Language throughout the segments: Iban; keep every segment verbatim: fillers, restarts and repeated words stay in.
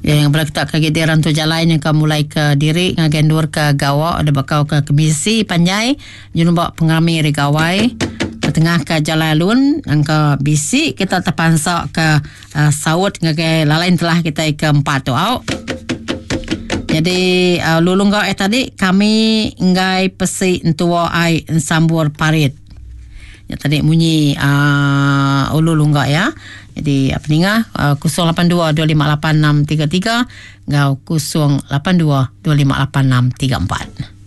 Yang bala kita ke di rantu jalai yang ka mulai ke diri ngagai endur ke gawa ada bakau ke kemisi panjai nyelumba pengerami hari gawai tengah ke jalai alun angka bisi kita terpansa ke uh, saut ngagai lalain telah kita ke empat tu au. Jadi uh, lulung gau eh tadi kami enggai pesi entua ai ensambur parit. Ya tadi munyi uh, ulu lunggak ya. Jadi apa ninga uh, kosong lapan dua dua lima lapan enam tiga tiga ngau kosong lapan dua dua lima lapan enam tiga empat.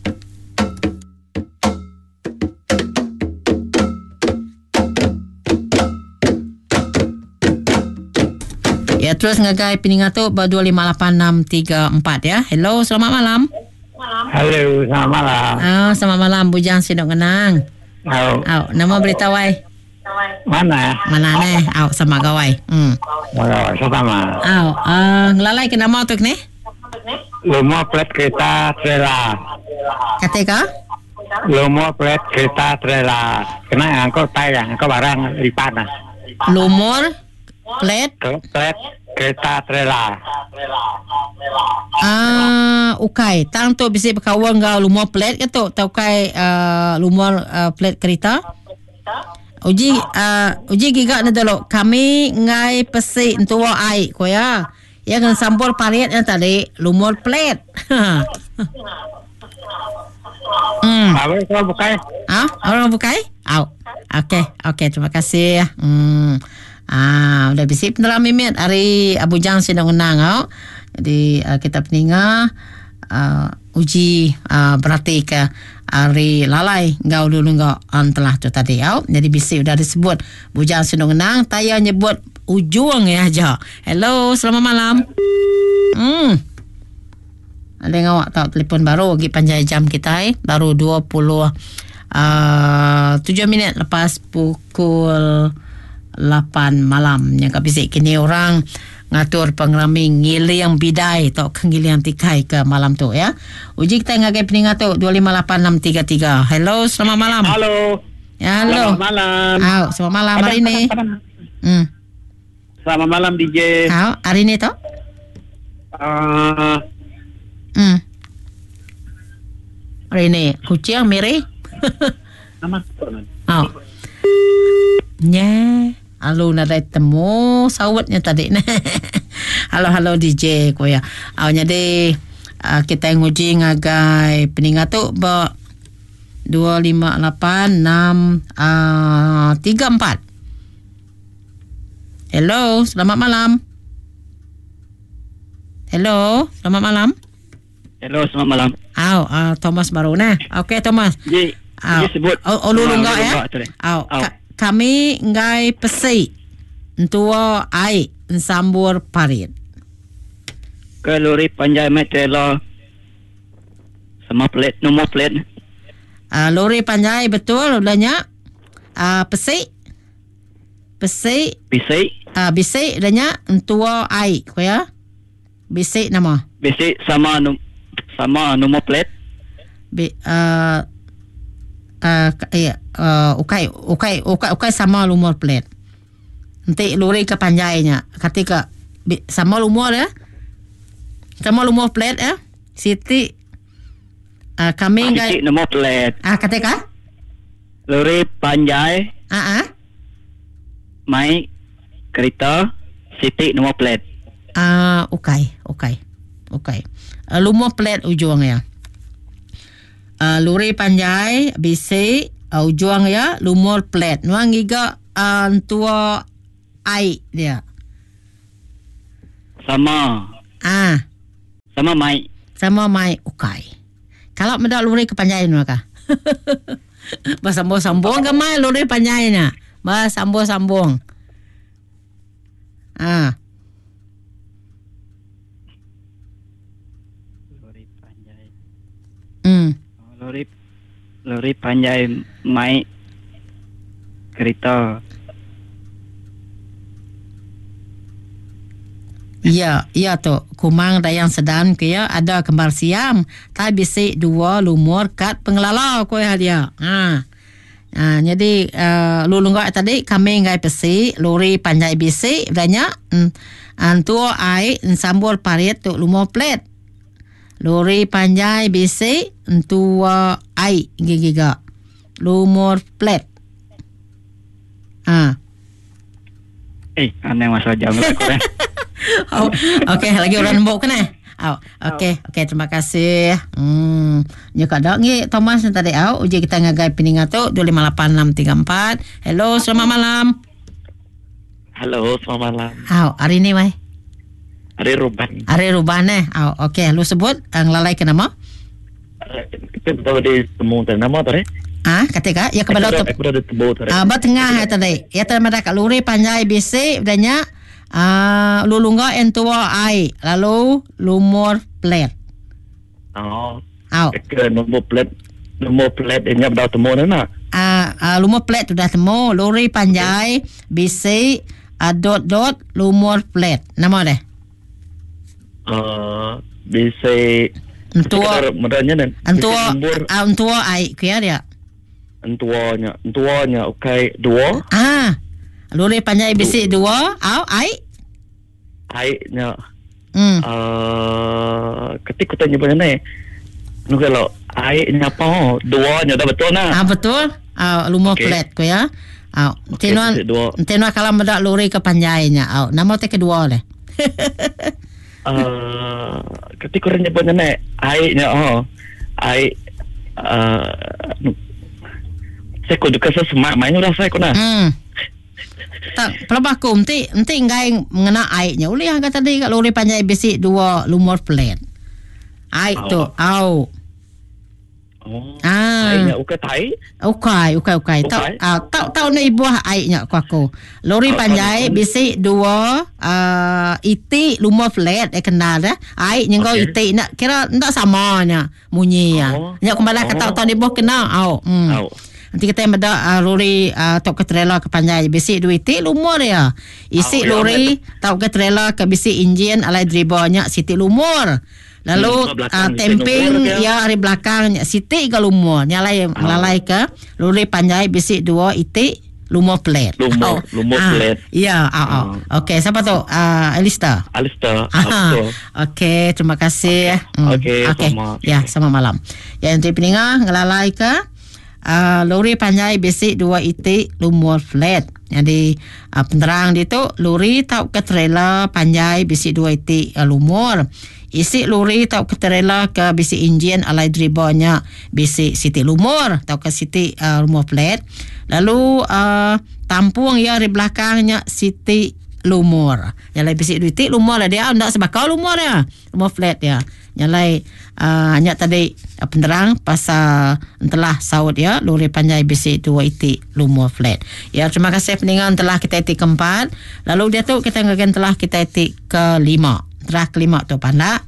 Ya terus ngagai peninga tu ba dua lima lapan enam tiga empat ya. Hello, selamat malam. Halo, selamat malam. Ah, selamat malam Bujang Sinok Ngenang. Au. Au, nama berita wai? Mana? Mana ne? Au sama gawai. Hmm. Gawai sama. Au, uh, ngelalai ke nama tu ni? Lumur plat kereta trailer. Kata ka? Lumur plat kereta trailer. Kena angkut tai lah, angkut barang lipat lah. Lumur plat plat kereta trailer. Ah, ukai. Tang tu bisi berkawan ngau lumur plat ke tu? Tau kai uh, lumur uh, plat kereta? Uji uh, uji giga ni dulu. Kami ngai pesi entua ai ko ya. Yang sambur parit yang tadi lumur plat. Hmm. Apa kau bukai? Ah, orang bukai? Au. Okey, okey, terima kasih. Hmm. Ah, udah bisi peneram mimit hari Abu Jang Sinong Ngenang au. Jadi uh, kita peninga uh, uji uh, berarti ke hari lalai ngau dulu ngau telah tu tadi au. Jadi bisi udah disebut Bujang Sinong Ngenang taya nyebut ujung ya aja. Hello, selamat malam. Hmm. Ada yang awak tahu telefon baru lagi panjang jam kita eh. Baru dua puluh tujuh minit lepas pukul lapan malam. Yang kat bisik kini orang ngatur pengerami ngiling bidai atau ngiling tikai ke malam tu ya. Uji kita ngagai peningat tu dua lima lapan enam tiga tiga. Hello, selamat malam. Halo. Ya, halo. Selamat malam. Au, selamat malam hari ini. Hmm. Selamat malam D J. Au, hari ini tu? Uh. Hmm. Hari ini kucing miri. Nama. Au. Nya. Alu nadai temu sawatnya tadi ne. Halo halo D J ko ya. Au jadi uh, kita nguji ngagai peningat tu ba dua lima lapan enam tiga empat. Hello, selamat malam. Hello, selamat malam. Hello, selamat malam. Au, uh, Thomas baru nah. Okey Thomas. J, Au. sebut. Oh, oh lulu enggak ya. Au. Kami ngai pesi entua ai ensambur parit. Ke lori panjai mai trailer sama plat nombor plat. Uh, lori panjai betul udahnya. Uh, pesi pesi bisi. Ah uh, bisi udahnya entua ai ko ya. Bisi nama. Bisi sama num, sama nombor plat. Bi uh, Uh, eh, uh, ukai ukai ukai ukai sama lumur plat. Nanti lori ke panjainya. Ketika sama lumur ya. Sama lumur plat ya. Siti uh, kami enggak Siti nombor plat. Ah ketika lori panjai. Ah ah. Mai kereta Siti nombor plat. Ah uh, ukai ukai. Ukai. Uh, lumur plat ujung ya. Uh, lori panjai bisi uh, ujung ya lumur plat nuang giga uh, tua ai dia sama ah sama mai sama mai ukai kalau mendak lori kepanjai nuang ka bersambung-sambung ke mai lori panjai nya bersambung-sambung ah lori panjai hmm lori lori panjai mai kereta. Ya, ya tu. Kumang dayang sedan ke ya ada kembar siam. Tai bisi dua lumur kad pengelala ko ya dia. Ha. Ah, jadi uh, lulunggak tadi kami ngai pesi lori panjai bisi udahnya mm, entua ai sambul parit tu lumur plet. Lori panjai bisi entua ai gigiga. Lumur plet. Ah. Eh, aneh masa jam lah korang. Oh, okey, lagi orang nembuk kena. Oh, okey, okey, terima kasih. Hmm, nya kada ngi Thomas ni tadi au uji kita ngagai peninga tu dua lima lapan enam tiga empat. Hello, selamat malam. Halo, selamat malam. Au, hari ni wai. Hari Ruban. Hari Ruban eh. Au, okey, lu sebut uh, ngelalai ke nama? Kita tahu di temu tadi nama tadi. Ah, kata ka? Ya kepada tu. Aku dah ditemu tadi. Ah, ba tengah tadi. Ya tadi madah kat lori panjai bisi udahnya. Ah, lulungga entua ai lalu lumur plet. Oh. Au. Ke nombor plet, nombor plet ini dah temu dah nak. Ah, ah, lumur plet sudah temu, lori panjai bisi ah, dot dot lumur plet. Nama deh? Uh, bisi entua meranya dan entua ah, entua ai kia dia. Entuanya, entuanya okey dua. Ah. Lori panjai bisi dua, au ai. Ai nya. Hmm. Uh, ketika tanya banyak ni. Nu kalau ai nya apa? Dua nya dah betul nah. Ah betul. Ah lumur okay. Plet ko ya. Ah okay, tenuan tenuan kalau medak lori ke panjainya. Au nama te kedua leh. Uh, ketika orang nyebutnya ni ai nya oh. Ai uh, saya kudu kesa semak main rasa aku nah. Hmm. Tak, pelabah aku enti enti ngai mengena airnya. Ulih kata tadi kat lori panjai bisi dua lumur plet. Air oh. tu, au. Oh. Ah. Airnya ukai tai. Ukai, ukai, ukai. Tak ah, tak tahu nak ibuah airnya aku aku. Lori oh, panjai oh. bisi dua uh, iti lumur plet eh kenal dah. Airnya kau okay. Iti nak kira ndak samanya bunyi ya. Oh. Nya aku malah kata tahu ibuah kena au. Hmm. Au. Nanti kita yang beda uh, lori uh, tok ke trailer ke panjai bisi dua itik lumur ya. Isi oh, lori ya, tok ke trailer ke bisi enjin alai drivernya siti lumur. Lalu hmm, uh, temping ya hari belakangnya siti ke lumur. Nyalai oh. Melalai ke lori panjai bisi dua itik lumur plet. Lumur, oh. lumur ah, plet. Ya, oh, oh. Okey, siapa tu? Uh, Alista. Alista. Ah, okey, terima kasih. Okey, hmm. okay, okay. sama. Ya, sama malam. Ya, nanti peninga ngelalai ke Uh, lori panjai bisi dua itik lumur flat. Jadi uh, penerang dia tu lori tau ke trailer panjai bisi dua itik uh, lumur. Isi lori tau ke trailer ke bisi enjin alai drivernya bisi siti lumur tau ke siti uh, lumur flat. Lalu uh, tampung ya di belakangnya siti lumur. Yang lain bisi dua itik lumur lah dia ndak sebakau lumur dia. Lumur flat dia. Yang lain uh, hanya tadi uh, penerang pasal telah saut ya lori panjai bisi dua itik lumur flat. Ya terima kasih pendengar telah kita itik keempat. Lalu dia tu kita ngagen telah kita itik kelima. Telah kelima tu pandak.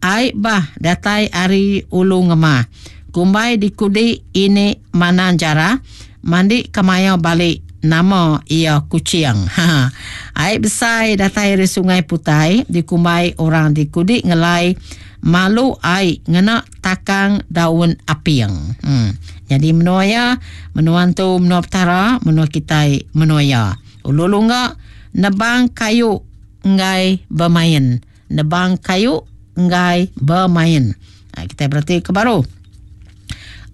Ai bah datai ari ulu ngemah. Kumbai dikudi ini mana jara mandi kemayau balik nama ia kucing. Ha. Air besar datai dari Sungai Putai dikumbai orang dikudi ngelai malu air ngena takang daun apiang. Hmm. Jadi menua ya, menua tu menua petara, menua kitai menua ya. Ulu lungga nebang kayu enggai bermain. Nebang kayu enggai bermain. Ha, kita berarti ke baru.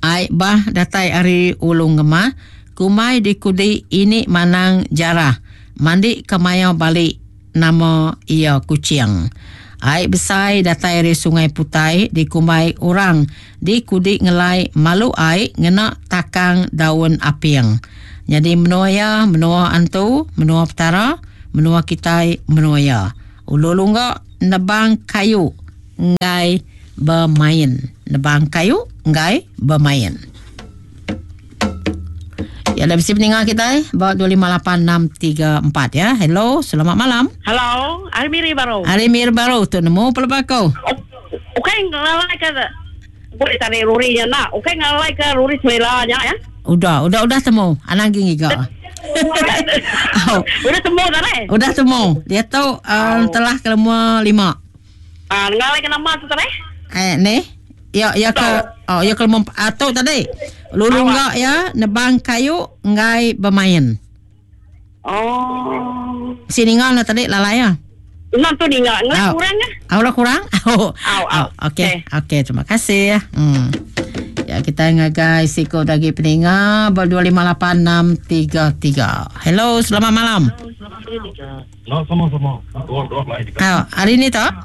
Air bah datai ari ulu ngemah. Kumai dikudi ini manang jarah. Mandi kemayau balik nama ia kucing. Air besar datai dari Sungai Putai dikumbai orang dikudi ngelai malu air ngena takang daun apiang. Jadi menua ya, menua antu, menua petara, menua kitai, menua ya. Ulu lungga nebang kayu enggai bermain. Nebang kayu enggai bermain. Ya, dah mesti pendengar kita eh. Bawa dua lima lapan enam tiga empat ya. Hello, selamat malam. Hello, hari Miri baru. Hari Miri baru tu nemu pelabako. Okey, ngalai ke boleh tarik lorinya nak. Okey, ngalai ke lori selelanya ya. Udah, udah udah temu. Anang gini gak. Oh. Udah temu dah eh? Udah temu. Dia tu um, oh. telah kelima lima. Ah, ngalai ke nama tu tadi? Eh, ni. Ya, ya ke oh, ya kelima atau tadi. Lulu enggak ya nebang kayu enggai bermain. Oh. Si ningal na tadi lalai ya. Nak tu ningal ngelak kurang ah. Au lah kurang. Au. Au au. Okey. Okey, terima kasih. Hmm. Ya, kita ngagai siko lagi peninga ber dua lima lapan enam tiga tiga. Hello, selamat malam. Hello, sama-sama. Dua dua lai. Ah, hari ni tak?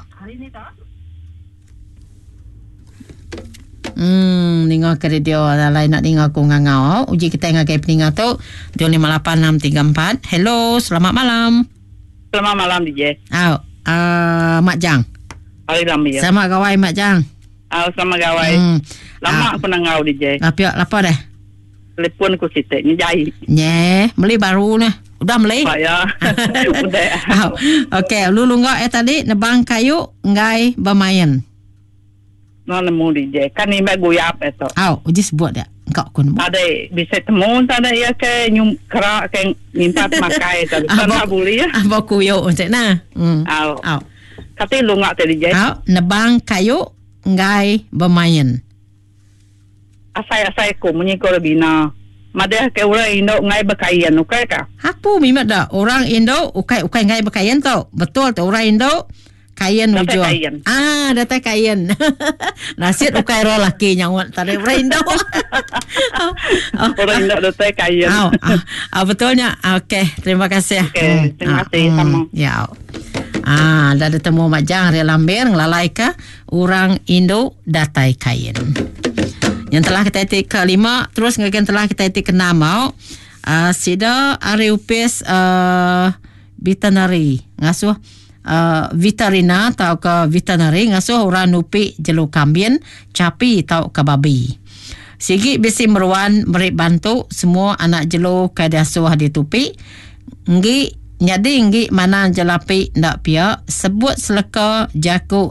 Hmm, ninga ke radio lalai nak ninga ku ngangau. Uji kita ngagai peninga tu dua lima lapan enam tiga empat. Hello, selamat malam. Selamat malam D J. Au, uh, Mak Jang. Hari lama ya. Selamat gawai Mak Jang. Au, selamat gawai. Hmm. Lama aku nak ngau D J. Apa apa dah? Telefon ku sitek ni jai. Nye, beli baru ni. Udah beli? Pak ya. Udah. Okey, lu lunggak eh tadi nebang kayu enggai bermain. No nemu D J. Kan ni mek guyap itu. Au, uji sebut dia. Engkau kun. Ada bisa temu ada ya ke nyum kerak ke minta makai tadi. Sana boleh ya. Apa kuyo untuk nah. Hmm. Au. Au. Kati lunggak tadi D J. Au, nebang kayu enggai bermain. Asai-asai ku munyi ko bina. Madah ke orang Indo ngai berkain ukai ka? Aku mimat dah orang Indo ukai-ukai ngai berkain tau. Betul tu orang Indo kain ujung. Ah, datai kain. Nasid ukai roh laki nyawa tadi orang Indo. Orang Indo datai kain. Ah, ah, betulnya. Okey, terima kasih. Okey, terima kasih hmm, sama. Ya. Ah, dah ditemu Mak Jang Ria Lambir ngelalai ke orang Indo datai kain. Yang telah kita etik kelima, terus ngagen telah kita etik keenam mau. Uh, sida ari upis uh, veterinary ngasuh uh, veterina atau ke veterinary ngasuh orang nupi jelu kambing, capi atau ke babi. Sigi bisi meruan beri bantu semua anak jelu ke diasuh ditupi. Nggi nyadi nggi mana jelapi ndak pia sebut seleka jaku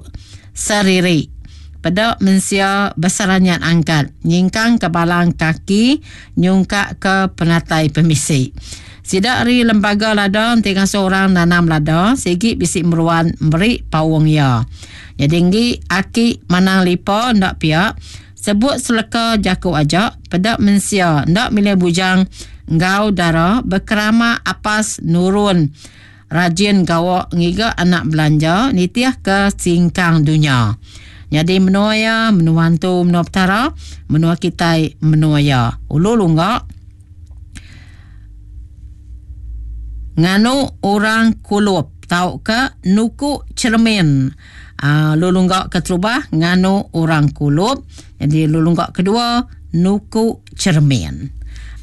seriri. Pada mensia besarannya angkat nyingkang ke balang kaki nyungkak ke penatai pemisi. Sidak ri lembaga lada tinggal seorang nanam lada sigi bisi meruan beri pawang ya. Jadi nggi aki manang lipa ndak pia sebut seleka jaku aja pada mensia ndak milih bujang ngau dara berkerama apas nurun rajin gawak ngiga anak belanja nitiah ke singkang dunia. Jadi menua ya, menua hantu, menua petara, menua kitai, menua ya. Ulu lunggak. Nganu orang kulup tau ke nuku cermin. Uh, lulunggak keterubah nganu orang kulup. Jadi lulunggak kedua nuku cermin.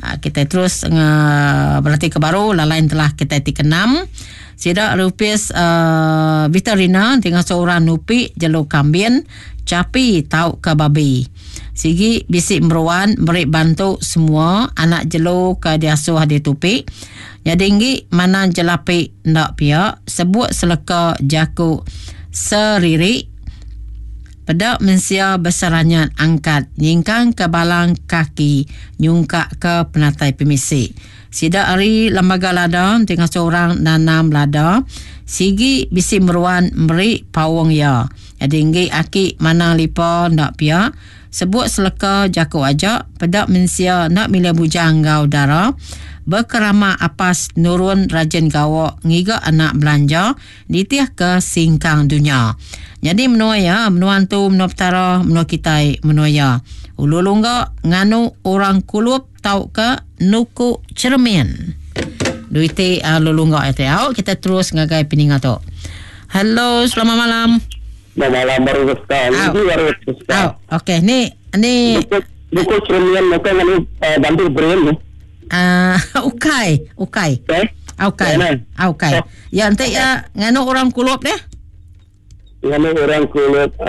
Uh, kita terus uh, berarti ke baru lalain telah kita ti keenam. Sidak lupis uh, veterina dengan seorang nupi jelu kambing, capi tau ke babi. Sigi bisik meruan beri bantu semua anak jelu ke diasuh ditupi. Jadi nggi mana jelapi ndak pia sebut seleka jaku seriri. Pada mensia besarannya angkat nyingkang ke balang kaki nyungkak ke penatai pemisi. Sidak ari lembaga lada dengan seorang nanam lada sigi bisi meruan meri pawang ya. Jadi nggi aki mana lipa ndak pia sebut seleka jaku aja pada mensia nak milih bujang gau dara berkerama apas nurun rajin gawak ngiga anak belanja nitiah ke singkang dunia. Jadi menua ya, menua hantu, menua petara, menua kitai, menua ya. Ulu lunggak nganu orang kulup tau ke nuku cermin. Duiti uh, lulunggak itu. Au, kita terus ngagai peninga tu. Hello, selamat malam. Selamat malam baru sekali. Baru sekali. Okey, ni ni buku, buku cermin bukan nganu uh, bantu brain ni. Ah, uh, ukai, ukai. Okay. Ukai. Ukai. Ya, nanti ya nganu orang kulup deh. Nganu orang kulup uh,